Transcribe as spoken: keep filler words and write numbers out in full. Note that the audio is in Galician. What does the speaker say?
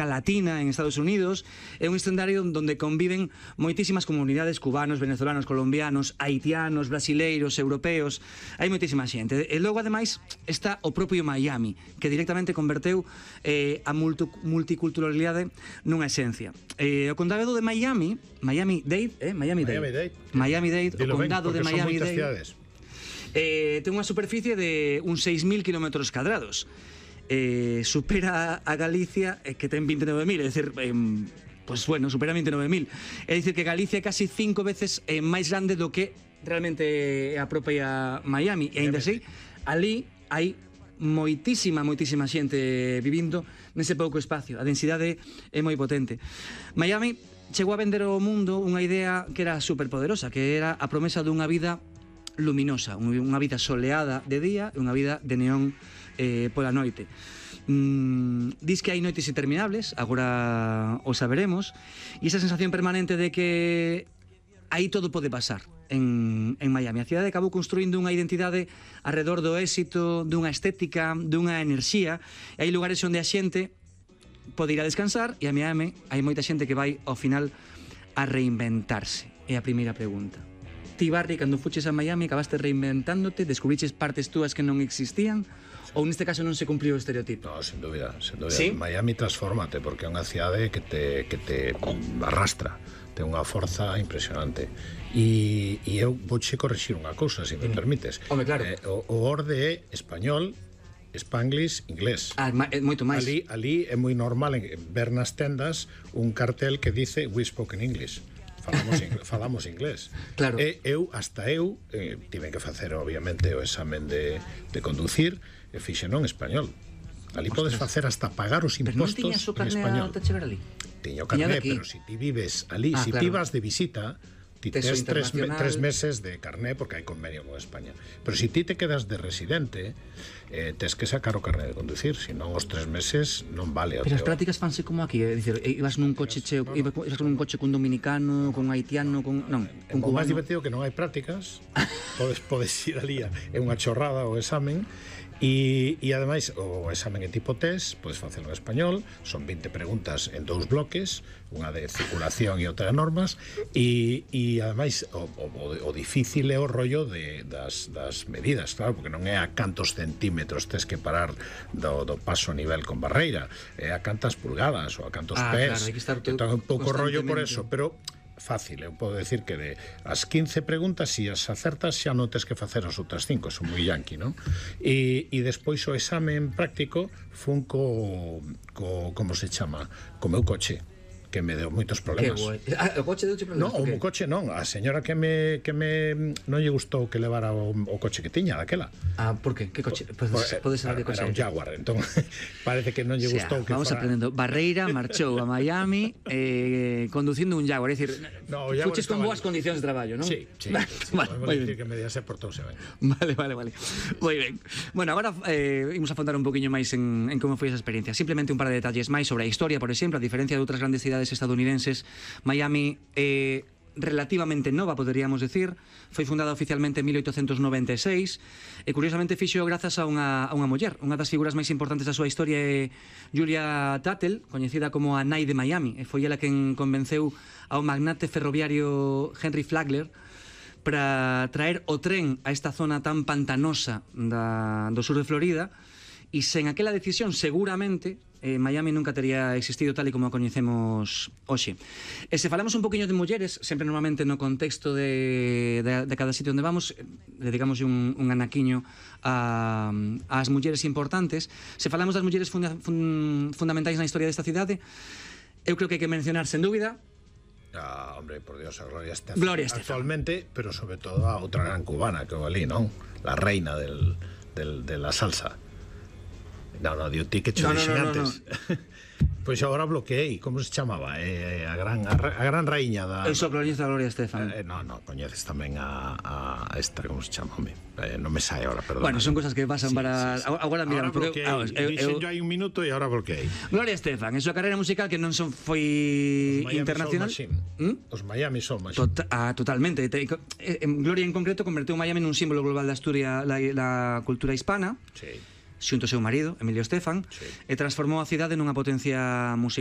Latina en Estados Unidos, é un escenario onde conviven moitísimas comunidades cubanos, venezolanos, colombianos, haitianos, brasileiros, europeos, hai moitísima xente. E logo, ademais, está o propio Miami, que directamente converteu eh, a multiculturalidade nunha esencia. Eh, o condado de Miami, Miami-Dade, eh? Miami-Dade, Miami-Dade, o condado de Miami-Dade, eh, ten unha superficie de uns seis mil kilómetros cadrados. Eh, supera a Galicia, eh, que ten vinte e nove mil, é dicir, eh, pues bueno, supera vinte e nove mil. É dicir que Galicia é casi cinco veces eh, máis grande do que realmente é a propia Miami. E ainda así, ali hai moitísima, moitísima xente vivindo nese pouco espacio. A densidade é moi potente. Miami chegou a vender ao mundo unha idea que era superpoderosa, que era a promesa dunha vida luminosa, unha vida soleada de día e unha vida de neón eh, pola noite. Mm, dis que hai noites interminables, agora o saberemos, e esa sensación permanente de que aí todo pode pasar en, en Miami. A cidade acabou construindo unha identidade alrededor do éxito, dunha estética, dunha enerxía, e hai lugares onde a xente pode ir a descansar, e a Miami hai moita xente que vai ao final a reinventarse. É a primeira pregunta. Ti, Barry, cando fuches a Miami, acabaste reinventándote, descubriches partes túas que non existían, ou neste caso non se cumpliu o estereotipo? No, sin dúbida, sin dúbida. ¿Sí? Miami transfórmate, porque é unha cidade que te, que te arrastra, ten unha forza impresionante. E, e eu vouche corrixir unha cousa, se me permites. Home, claro. Eh, o, o orde é español, Spanglish, inglés. Ah, é moito máis. Ali, ali é moi normal ver nas tendas un cartel que dice "We spoke in English". Falamos, falamos inglés. Claro. E eu, hasta eu, eh, tive que facer, obviamente, o examen de, de conducir, e fixe non español. Ali Ostras. Podes facer hasta pagar os impostos en español. Pero non tiñas o carné a chegar ali? Tiño carné, pero se ti vives ali, ah, se claro. ti vas de visita, ti tes tres, tres meses de carné porque hai convenio con España. Pero se ti te quedas de residente, eh, tes que sacar o carné de conducir, senón os tres meses non vale. Pero as prácticas fanse como aquí, é dicir, ibas nun coche cheo, ibas con un coche cun dominicano, con haitiano, con non, con cubano. O máis divertido que non hai prácticas, podes podes ir ali, é unha chorrada o examen. E, e ademais o examen é tipo test, podes facelo en español, son vinte preguntas en dous bloques, unha de circulación e outra de normas, e, e ademais o, o, o difícil é o rollo de, das, das medidas, claro, porque non é a cantos centímetros tes que parar do, do paso a nivel con barreira, é a cantas pulgadas ou a cantos ah, pés, claro, hai que estar entón, un pouco rollo por eso, pero fácil, eu podo decir que de as quince preguntas, se as acertas xa non tes que facer as outras cinco, son moi yanqui, non? E, e despois o examen práctico fun co, co como se chama, co meu coche, que me deu moitos problemas. Que guai. Ah, o coche deuche problemas? Non, o coche non, a señora que me que me non lle gustou que levara o, o coche que tiña daquela. Ah, por que? Que coche? Pues, pues, pode ser de coche. Era un Jaguar, entón parece que non lle gustou, o sea, que vamos fora... aprendendo. Barreira marchou a Miami eh, conducindo un Jaguar, é dicir, no, fuches con boas condicións de traballo, non? Sí, sí, vale, sí, vale, podemos dicir que me díase portouse ben. Vale, vale, vale. Moi ben. Bueno, agora eh, imos a afondar un poquinho máis en, en como foi esa experiencia. Simplemente un par de detalles máis sobre a historia, por exemplo, a diferencia de outras grandes cidades estadounidenses. Miami é eh, relativamente nova, poderíamos decir. Foi fundada oficialmente en mil oitocentos noventa e seis e curiosamente fixo grazas a unha, a unha muller. Unha das figuras máis importantes da súa historia é Julia Tuttle, coñecida como a Nai de Miami, e foi ela quen convenceu ao magnate ferroviario Henry Flagler para traer o tren a esta zona tan pantanosa da, do sur de Florida, e sen aquela decisión seguramente eh, Miami nunca tería existido tal e como a coñecemos hoxe. E se falamos un poquinho de mulleres, sempre normalmente no contexto de, de, de cada sitio onde vamos, dedicamos un, un anaquiño a, ás mulleres importantes. Se falamos das mulleres funda, fun, fundamentais na historia desta cidade, eu creo que hai que mencionar, sen dúbida, ah, hombre, por Dios, a Gloria Estefan. Gloria Estefan. Actualmente, pero sobre todo a outra gran cubana que ali, non? La reina del, del, de la salsa. No, no, dio ti que cho no, dixen no, no, antes. No, no. Pois agora bloqueei, como se chamaba? Eh, a gran a, a gran raíña da... Eso, coñeces a Gloria Estefan. Eh, no, no, coñeces tamén a, a esta, como se chama, home? Eh, non me sai agora, perdón. Bueno, son cosas que pasan sí, para... Sí, sí. Agora, mira, ahora bloqueei, ah, dixen yo hai un minuto e agora bloqueei. Gloria Estefan, en súa carreira musical que non son foi internacional. ¿Mm? Os Miami Soul Machine. Tota, ah, totalmente. Te, en Gloria en concreto converteu Miami nun símbolo global da Asturias, la, la cultura hispana. Sí. xunto ao seu marido, Emilio Estefan, Sí. e transformou a cidade nunha potencia musical.